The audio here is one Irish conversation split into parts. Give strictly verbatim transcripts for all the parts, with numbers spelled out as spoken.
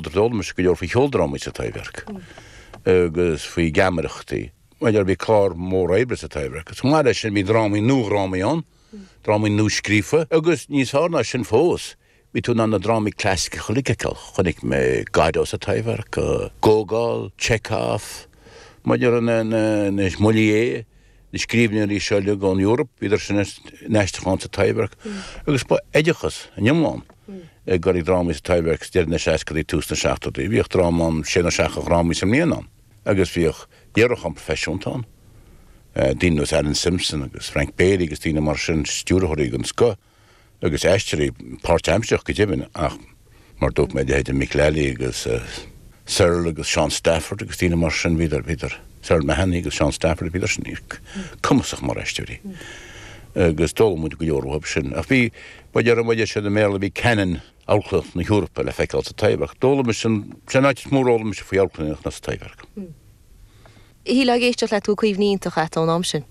D'fhoghlaim mise go leor faoi cheoldrámaí sa Taibhdhearc agus faoi gheamaireachtaí. Mar bhí clár mór oibre sa Taibhdhearc. Agus chomh maith leis sin bhí drámaí nuadhrámaí ann, drámaí nuascríofa agus níos fearr ná sin fós, bhí tú in ann na drámaí clasaiceacha uilig a fheiceáil. Chonaic mé Godot sa Taibhdhearc, Gogol, Chekhov, maidir na na Molière, na scríbhneoirí seo uilig ón Eoraip, bhíodar sin in aistriúchán sa Taibhdhearc agus ba oideachas an iomlán ag dul ag drámaí sa Taibhdhearc deireadh na seascadaí tús na seachtóidí. Bhíodh dráma ann, sé nó seacht de dhrámaí sa mbliain ann agus bhíodh léiriúchán proifisiúnta ann, daoine nós Alan Simpson agus Frank Bailey agus daoine mar sin, stiúrthóirí den scoth agus aisteoirí páirtaimseartha go deimhin ach mar dúirt mé leithéidí Mick Lally agus Cyril agus Sean Stafford agus daoine mar sin, bhíodar, bhíodar, Cyril Mahony agus Sean Stafford, bhíodar sin cumasach mar aisteoirí agus d'fhoghlaim muid go leor uathu sin. Ach bhí, ba deir muid sin i mBéarla, bhí canon amharclannaíocht na hEorpa le feiceáil sa Taibhdhearc. D'fhoghlaim mise, sin an áit is mó ar fhoghlaim mise faoi amharclannaíocht ná sa Taibhdhearc. Shílfeá ag éisteacht leat go bhfuil cuimhní iontacha agat ón am sin.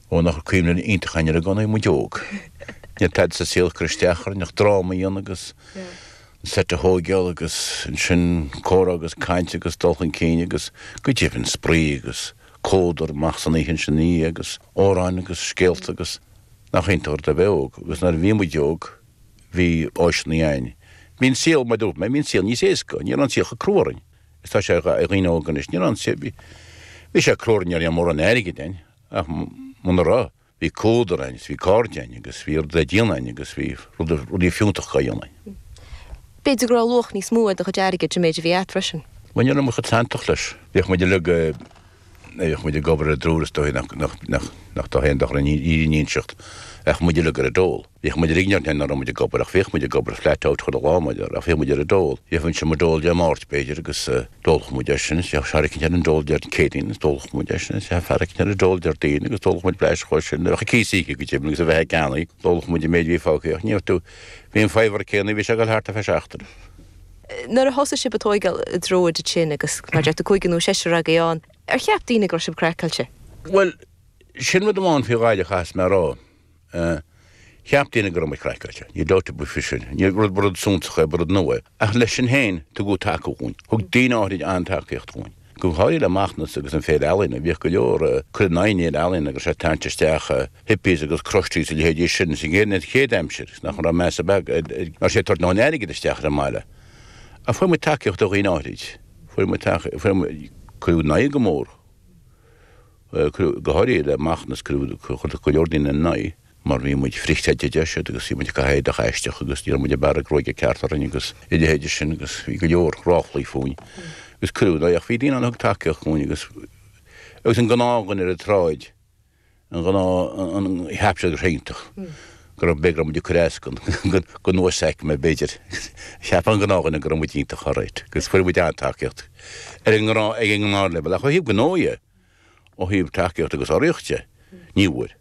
Ó nach raibh cuimhne iontach againn ar an gcónaí muid óg. Ní raibh tada sa saol ag cur isteach orainn ach dráma a dhéanamh agus an seit a thóigeáil agus ansin comhrá agus caint agus dul chun cinn agus go deimhin spraoi agus comhluadar amach san oíche ansin ina dhiaidh agus amhráin agus scéalta agus nach iontach rud a bheith óg agus nuair a bhí muid óg bhí áiseanna againn. Bhí an saol, mar a dúirt mé, bhí an saol níos éasca, ní raibh an saol chomh crua orainn is tá sé ar dhaoine óga anois, ní raibh an saol, bhí, bhí sé crua orainn, ní raibh mórán airgid againn ach muna raibh, bhí comhluadar againn is bhí cairde againn agus bhí rud le déanamh againn agus bhí rudaí fiúntacha á dhéanamh againn. B'fhéidir go raibh luach níos mó ar do chuid airgid an méid a bhí agat freisin. Bhuel, ní raibh muid chomh santach leis. Bhíodh muid uilig, bhíodh muid ag obair ar an dtriúr is dóigh nach, nach, nach, nach dá haon dochar an fhírinne a inseacht, ach muid uilig ar an dól. Bhíodh muid uilig, ní nach raibh muid ag obair ach bhíodh muid ag obair flat out chuile lá, muid, ach bhíodh muid ar an dól. Gheobhainnse mo dól Dé Máirt, b'fhéidir, agus d'ólfadh muid é sin, is bheadh fear eicínt ar an dól Dé Céadaoin agus d'ólfadh muid é sin, is bheadh fear eicínt ar an dól Déardaoin agus d'ólfadh muid blaiseadh dhó sin. Bheadh cíos íoctha go deimhin agus a bheith ag ceannaí, d'ólfadh muid an méid a bhí fágtha ach ní raibh tú, bhí an faobhar céanna, bhí sé ag dul thart ar feadh seachtaine. Nuair a thosaigh sibh ag tóigeáil i dtreo iad sin agus mar deir tú cúigear nó seisear agaibh ann, ar cheap daoine go raibh sibh craiceáilte? Bhuel, sin rud amháin faoi Ghaillimh a chaithfeas mé a rá. Cheap daoine go raibh muid craiceáilte. Níl dabht ar bith faoi sin. Ní rud, ba rud suntasach é, ba rud nua é. Ach leis sin féin, tugadh taca dhúinn. Thug daoine áirid an-tacaíocht dhúinn. Go háirithe le Macnas agus an Féile Ealaíne. Bhíodh go leor cur in aghaidh an Fhéile Ealaíne agus é ag tarraingt isteach hippies agus crusties a leithéidí sin sa gcéad aimsir agus nach raibh meas ar bith ar nach raibh sé ag tabhairt a ndóthain airgid isteach ar an mbaile. Ach fuair muid tacaíocht ó dhaoine áirid. Fuair muid tacaíocht, fuair muid, cuireadh in aghaidh go mór. Go háirithe le Macnas, cuireadh go leor daoine in aghaidh mar bhí muid frithchreidmheach a deir siad agus bhí muid ag caitheamh éadach aisteach agus ní raibh muid ag bearradh gruaige ceart orainn agus a leithéide sin agus bhí go leor ráflaí fúinn agus cuireadh in aghaidh ach bhí daoine ann a thug tacaíocht dhúinn agus agus an gnáthdhuine ar an tsráid an gnáth an cheap siad go raibh sé iontach go raibh b'fhéidir go raibh muid ag cur as don don uasaicme b'fhéidir cheap an gnáthdhuine go raibh muid iontach alright agus fuair muid an-tacaíocht ar an ngnáth ag an ngnáthleibhéal ach ó thaobh gnó dhe ó thaobh tacaíocht agus urraíocht de ní bhfuair.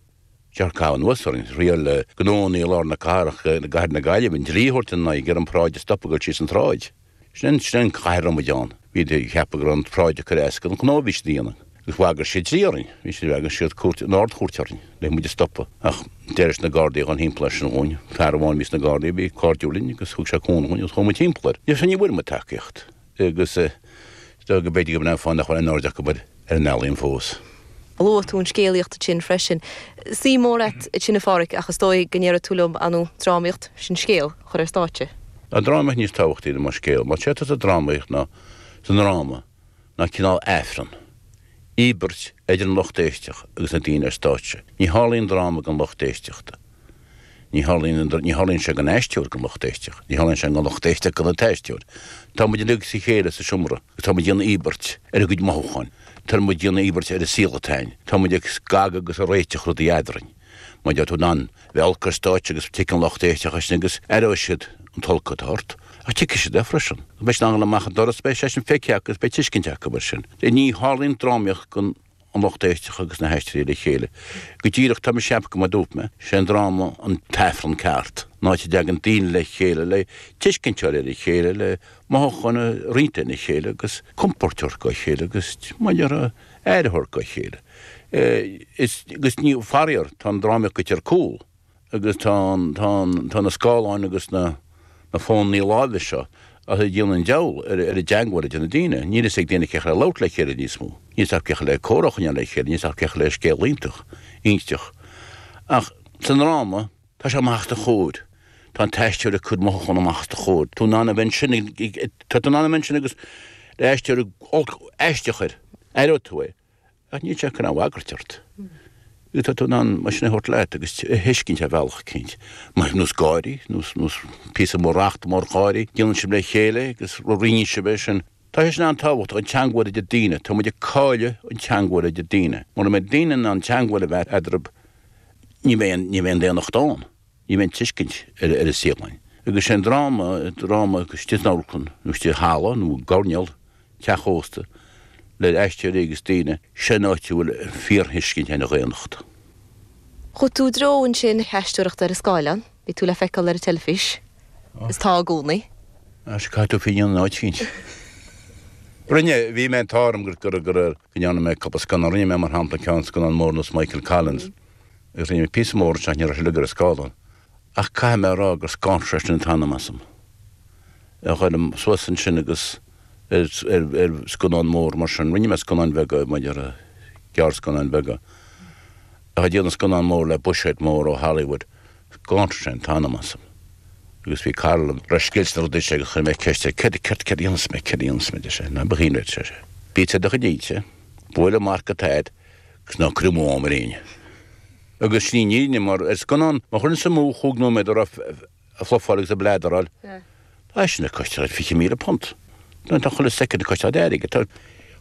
Dearcadh caitheamh anuas orainn, thriail gnónna i lár na cathrach i gcathair na Gaillimhe an dlí a thabhairt ina n-aghaidh, ag iarraidh an pharáid a stopadh ag dul síos an tsráid. Sin an chathair a raibh muid ann. Bhí ag ceapadh go raibh an pharáid ag cur as don ghnó a bhí siad a dhéanamh. Agus bhagair siad dlí orainn. Bhí siad, bhagair siad cúirt, an Ard-Chúirt orainn le muid a stopadh. Ach d'éirigh na Gardaí a dhul thimpeall air sin dhúinn. Fear amháin a bhí sna Gardaí a bhí cairdiúil linn agus thug sé cúnamh dhúinn agus chuaigh muid thimpeall air. Ní bhfuair muid tacaíocht. Agus is dóigh go b'fhéidir go b'in an fáth nach bhfuil aon aird acu ar an ealaíon fós. Luaigh tú an scéalaíocht ansin freisin. Suim mhór agat ansin a Pháraic ach is dóigh go ndéarfaidh tú liom, ar ndóigh, drámaíocht, sin scéal a chur ar stáitse. Tá an drámaíocht níos tábhachtaí ná scéal. Mar sé atá sa drámaíocht ná sa ndráma ná cineál Aifreann, íobairt idir an lucht éisteach agus na daoine ar stáitse. Ní tharlaíonn dráma gan lucht éisteachta. Ní tharlaíonn, ní tharlaíonn sé gan aisteoir gan lucht éisteach. Ní tharlaíonn sé gan lucht éisteach gan an t-aisteoir. Tá muid uilig sa chéile sa seomra agus tá muid ag déanamh íobairt ar ár gcuid mothúcháin. Tá muid ag déanamh íobairt ar an saol atá againn. Tá muid ag scagadh agus ag réiteach rudaí eadrainn. Mar tá tú in ann bheith olc ar stáitse agus tuigfidh an lucht éisteach é sin agus aireoidh siad an t-olc atá ort. Ach tuigfidh siad é freisin. Beidh siad in ann dul amach an doras, beidh sé sin feicthe acu agus beidh tuiscint acu air sin. Ní tharlaíonn drámaíocht gan an lucht éisteachta agus na haisteoirí le chéile. Go díreach, tá mise ag ceapadh go mar a dúirt mé, sé an dráma an t-aifreann ceart, an áit a dtagann daoine le chéile le tuiscint a fháil ar a chéile, le mothúcháin a roinnt lena chéile agus compord a thabhairt dá chéile agus, mar a déarfá, aire a thabhairt dá chéile. Is, agus ní, faraor, tá an drámaíocht goite ar cúl agus tá an, tá an, tá na scáileáin agus na, na fónnaí láimhe seo á Ach ag déanamh an diabhal ar an dteangmháil idir na daoine. Níl fhios ag daoine cén chaoi le labhairt le chéile níos mó. Níl fhios acu cén chaoi le comhrá a choinneáil le chéile, níl fhios acu cén chaoi le scéal iontach a inseacht. Ach sa ndráma, tá sé amach os do chomhair. Tá an t-aisteoir ag cur mothúchán amach os do chomhair. Tá tú in ann a bheith ansin, tá tú in ann a bheith ansin agus le aisteoir olc aisteach air, aireoidh tú é. Ach níl sé ag cur aon bhagairt ort. Tá tú in ann mar sin a thabhairt leat agus a thuiscint ar bhealach eicínt. Mar nós gáirí, nós nós píosa mór rachta mór gáirí, déanann sibh le chéile agus roinneann sibh é sin. Tá sé sin an-tábhachtach, an teangmháil idir daoine. Tá muid ag cailleadh an teangmháil idir daoine. Mura mbeidh daoine in ann teangmháil a bheith eadarthu, ní bheidh ní bheidh an daonnacht ann. Ní bheidh an tuiscint ar ar an saol ann. Agus sé an dráma, dráma istigh san amharclann nó istigh i halla nó i gcoirnéal teach ósta, le aisteoirí agus daoine, sin áit a bhfuil fíorthuiscint ar an dhaonnacht. Chuaigh tú i dtreo ansin na haisteoireachta ar an scáileán, bhí tú le feiceáil ar an teilifís, is tá i gcónaí. Sea, caithfidh tú féin an áit féin. Rinne, bhí mé an t-ádh orm gur, gur, gur, go ndearna mé cúpla scannán, rinne mé mar shampla ceann scannán mór nós Michael Collins, agus rinne mé píosa mór ansin ach ní raibh sé uilig ar an scáileán. Ach caithfidh mé a rá gur scanraigh sé sin an t-anam asam. A ghoil suas ansin agus ar scannán mór mar sin. Rinne mé scannáin bheaga, maidir le gearrscannáin bheaga. Ach ag déanamh scannán mór le buiséad mór ó Hollywood, scanraigh sé an t-anam asam. Agus bhí cara liom, raibh scil sna rudaí seo agus chuir mé ceist air, céard, céard, céard a dhéanfas mé, céard a dhéanfas mé, deir sé, ná bíodh aon rud, ar sé. Bí ag do chuid inse, buail an marc atá agat agus ná cuir amú am ar éinne. Agus sin í an fhírinne, mar ar scannán, má chuireann tú amú chúig nóiméad a raibh ag flufáil agus ag bleadaráil, tá sin ag costáil fiche míle punt. Tá chuile soicind ag costáil airgid. Tá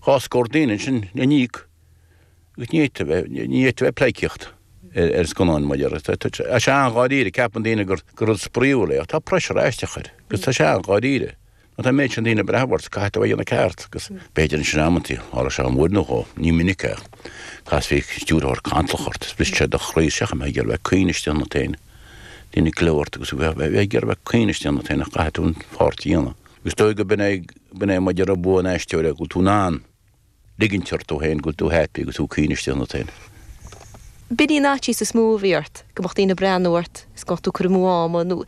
dhá scór daoine ansin le n-íoc agus ní fhéadfá bheith, ní fhéadfá bheith ag pleidhcíocht ar scannáin mar dhea. Tá sé an-dháiríre, ceapann daoine gur rud spraíúil é ach tá pressure aisteach air agus tá sé an-dháiríre. Má tá an méid sin daoine ag breathnú ort, caithfidh tú a dhéanamh ceart agus b'fhéidir ansin amantaí, tharla sé dhom uair nó dhó, ní minic é, casfaidh stiúrthóir cantalach ort is brisfidh sé do chroí isteach, bheifeá ag iarraidh bheith ag caoineadh istigh ionat féin. Daoine ag gleo ort agus bheifeá ag iarraidh bheith ag caoineadh istigh ionat féin ach caithfidh tú an pháirt a dhéanamh. Agus is dóigh go b'in é, b'in é maidir le bua an aisteora, go bhfuil tú in ann ligint ort tú féin, go bhfuil tú happy agus tú ag caoineadh istigh ionat féin. B'in í an fhaitíos is mó a bhí ort, go mbeadh daoine ag breathnú ort is go mbeadh tú ag cur amú ama nó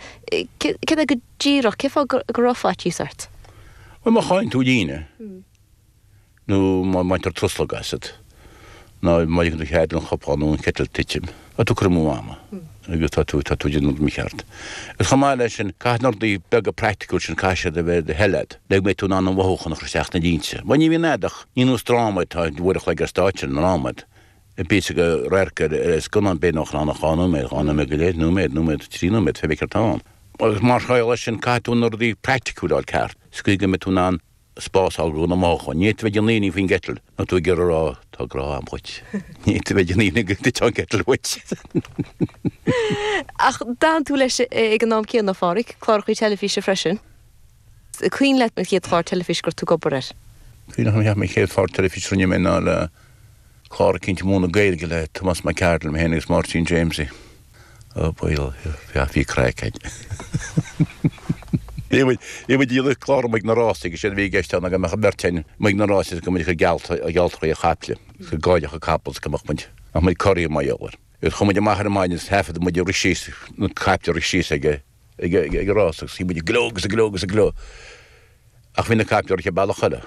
céard é go díreach, cén fáth go raibh faitíos ort? Bhuel, má chailleann tú líne nó má bhaintear truslóg asat nó má ligeann tú cead don chupán nó an chiteal titim, tá tú ag cur amú ama agus tá tú tá tú ag déanamh rud mícheart. Agus chomh maith leis sin, caithfidh na rudaí beaga praiticiúil sin, caithfidh siad a bheith ar do thoil agat le go mbeidh tú in ann an mhothúchán a chur isteach sna línte. Mar ní bhíonn a'd ach, ní nós dráma atá uair a chloig ar stáitse i ndráma, píosa de radharc ar ar scannán b'fhéidir nach ann ach dhá nóiméad, dhá nóiméad go leith, nóiméad, nóiméad, trí nóiméad, pé céard atá ann. Agus mar gheall air sin, caithfidh tú na rudaí praiticiúil a fháil ceart, sa gcaoi go mbeidh tú in ann spás a fháil do na mothúcháin. Ní fhéadfá bheith ag déanamh aoibhinn faoin gciteal nó tú ag iarraidh a rá tá grá a'm dhuit. Ní fhéadfá bheith ag déanamh aoibhinn go dtitfeadh an citeal uait. Ach d'fhan tú leis ag an am céanna, a Pháraic, clárachaí teilifíse freisin. Cuimhin leat an chéad chlár teilifíse go raibh tú ag obair air? Cuimhin liom an chéad chlár teilifíse a rinne mé ná le clár eicínt ag múineadh Gaeilge le Tomás Mac Cárthaigh, mé féin agus Máirtín Jamesie. Ó baol, bhí craic againn. Bhí muid ag déanamh clár amuigh ag na rásaí agus séard a bhí i gceist ann ná go mbeadh an bheirt againn amuigh ag na rásaí agus go mbeadh muid ag cur geallta, gealltraí ar chaiple agus go gcaillfeadh an capall agus go mbeadh muid, mbeadh muid corraithe mar gheall air. Agus chuaigh muid amach ar maidin agus thaifead muid ag rith síos, na caiple ag rith síos ag, ag, ag an rás agus bhí muid ag gleo agus ag gleo agus ag gleo. Ach bhí na caiple ag rith an bealach eile.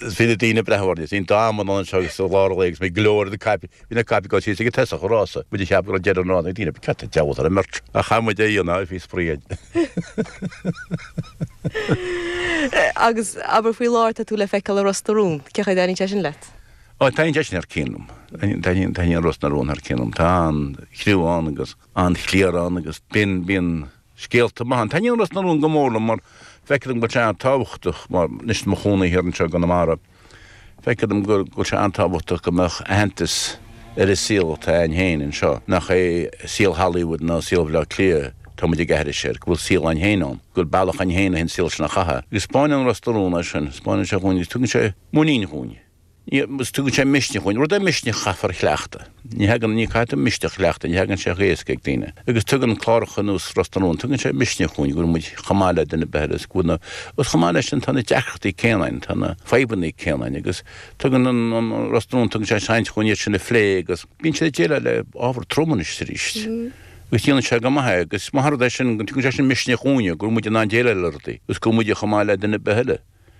Bhí na daoine ag breathnú orainn, bhí an t-am ann seo agus sa lár lae agus muid ag gleo ar na caiple, bhí na caiple ag dul síos ag an tosach an rása, muid ag ceapadh go raibh deireadh an rása, na daoine, cad an diabhal atá ar an mbeirt? Ach chaith muid é a dhéanamh, bhí spraoi againn. Agus abair faoi láthair tá tú le feiceáil i Ros na Rún, cén chaoi a dtaitníonn sé sin leat? Ó, taitníonn sé sin thar cionn liom. Taitníonn Ros na Rún thar cionn liom. Tá an-chriú ann agus an-chliar ann agus bíonn, bíonn, Scéalta maithe ann. Taitníonn Ros na Rún go mór liom mar feictear dom go bhfuil sé an-tábhachtach mar anois i mo chónaí thiar anseo i gConamara, feictear dom go bhfuil sé an-tábhachtach go mbeadh aitheantas ar an saol atá againn féin anseo, nach é saol Hollywood ná saol Bhaile Átha Cliath atá muid ag aithris air, go bhfuil saol againn féin ann, go bhfuil bealach againn féin le an saol sin a chaitheamh. Agus 'spáineann Ros na Rún é sin, 'spáineann sé dhúinn agus tugann sé muinín dhúinn. Agus tugann sé misneach dhúinn. Rud é misneach a chaithfear a chleachtadh. Ní thagann, ní caithfidh tú misneach a chleachtadh, ní thagann sé chomh héasca ag daoine. Agus tugann cláracha ar nós Ros na Rún, tugann sé misneach dhúinn go bhfuil muid chomh maith le duine ar bith eile agus go bhfuil na, agus chomh maith leis sin tá na deacrachtaí céanna againn, tá na fadhbanna céanna againn agus tugann an, an Ros na Rún, tugann sé seans dhúinn iad sin a phlé agus bíonn siad ag déileáil le ábhar trom anois is arís. Agus déanann sé go maith é agus is maith an rud é sin, go dtugann sé sin misneach dhúinne go bhfuil muid in ann déileáil le rudaí agus go bhfuil muid chomh maith le duine ar bith eile.